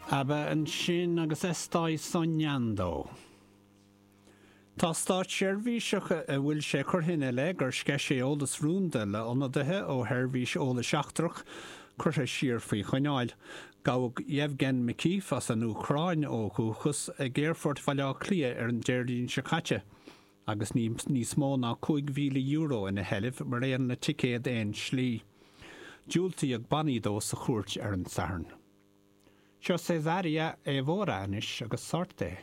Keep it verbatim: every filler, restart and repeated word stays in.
ABBA ansin agus Estoy Soñando. Tá státseirbhíseach a bhfuil sé curtha ina leith gur sceith sé eolas rúnda le ionadaithe ó sheirbhís eolais seachtrach curtha siar faoi choinneáil. Gabhadh Yevgen Makiev as an Úcráin ó dhúchas ag Aerfort Bhaile Átha Cliath ar an Déardaoin seo caite, agus níos mó ná cúig mhíle euro ina sheilbh mar aon le ticéad aon slí. Diúltaíodh bannaí dó sa chúirt ar an Satharn. Seo Cesária Évora anois agus Sorte.